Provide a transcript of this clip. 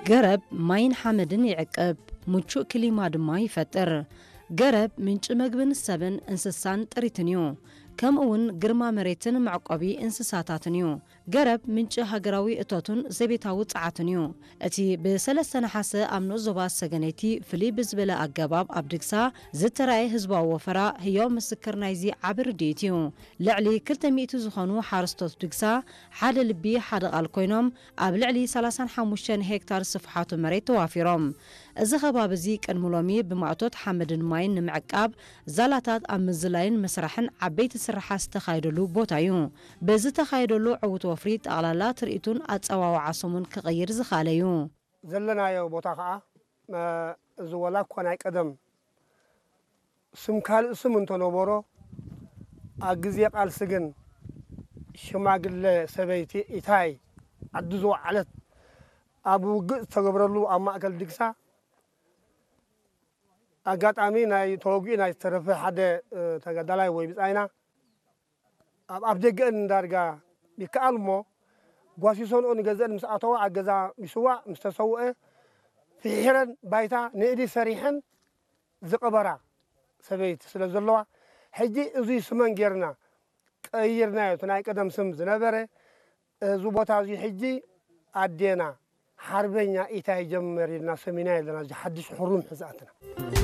ገረብ ማይን ሓመድን ይዕቅብ፣ ምቹእ ክሊማ ድማ ይፈጥር። ገረብ ምንጪ መግብን ሰብን እንስሳን ጥሪትን እዩ። ከምኡ እውን ግርማ መሬትን መዕቆቢ እንስሳታትን እዩ። ገረብ ምንጪ ሃገራዊ እቶትን ዘቤታዊ ጸዓትን እዩ። እቲ ብ ሰለስተ ነሓሰ ኣብ ንኡስ ዞባ ሰገነይቲ ፍልይ ብዝበለ ኣገባብ ኣብ ድግሳ ዝተራእየ ህዝባዊ ወፈራ ህያው ምስክር ናይዚ ዓቢ ርድኢት እዩ። ልዕሊ ክልተ ሚእቲ ዝኾኑ ሓረስቶት ድግሳ ሓደ ልቢ ሓደ ቃል ኮይኖም ኣብ ልዕሊ ሰላሳን ሓሙሽተን ሄክታር ስፍሓቱ መሬት ተዋፊሮም። እዚ ከባቢ እዚ ቅድሚ ሎሚ ብማእቶት ሓመድን ማይን ንምዕቃብ ዛላታት ኣብ ምዝላይን ምስራሕን ዓበይቲ ስርሓት ዝተኻየደሉ ቦታ እዩ። ብዝተኻየደሉ ዕዉት ወፍሪ ጠቕላላ ትርኢቱን ኣጸዋውዓ ስሙን ክቕይር ዝኸኣለ እዩ። ዘለናዮ ቦታ ኸዓ፣ እ፣ እዚ ወላ እኳ ናይ ቀደም ስም ካልእ ስም እንተነበሮ፣ ኣብ ግዜ ቃልሲ ግን ሽማግለ ሰበይቲ ኢታይ ዓዲ ዝወዓለት ኣብ ውግእ ዝተገብረሉ ኣብ ማእከል ድግሳ ኣጋጣሚ ናይ ተወጊኡ ናይ ዝተረፈ ሓደ፣ እ፣ ተጋዳላይ ወይ ብጻይና ኣብ ኣፍ ደገአን ዳርጋ ይከኣል እሞ ጓሲሶንኦ ንገዝአን ምስ ኣተዋ ኣብ ገዛ ምስዋእ ምስ ተሰውአ ፍሒረን ባይታ ንእዲ ሰሪሐን ዝቐበራ ሰበይቲ ስለ ዘለዋ፣ ሕጂ እዙይ ስመን ጌርና ቀይርናዮ። እቲ ናይ ቀደም ስም ዝነበረ፣ እዚ ቦታ እዚ ሕጂ ኣዴና ሓርበኛ ኢታይ ጀመር ኢልና ሰሚና ኣለና። እዚ ሓድሽ ሕሩም ሕዝኣትና።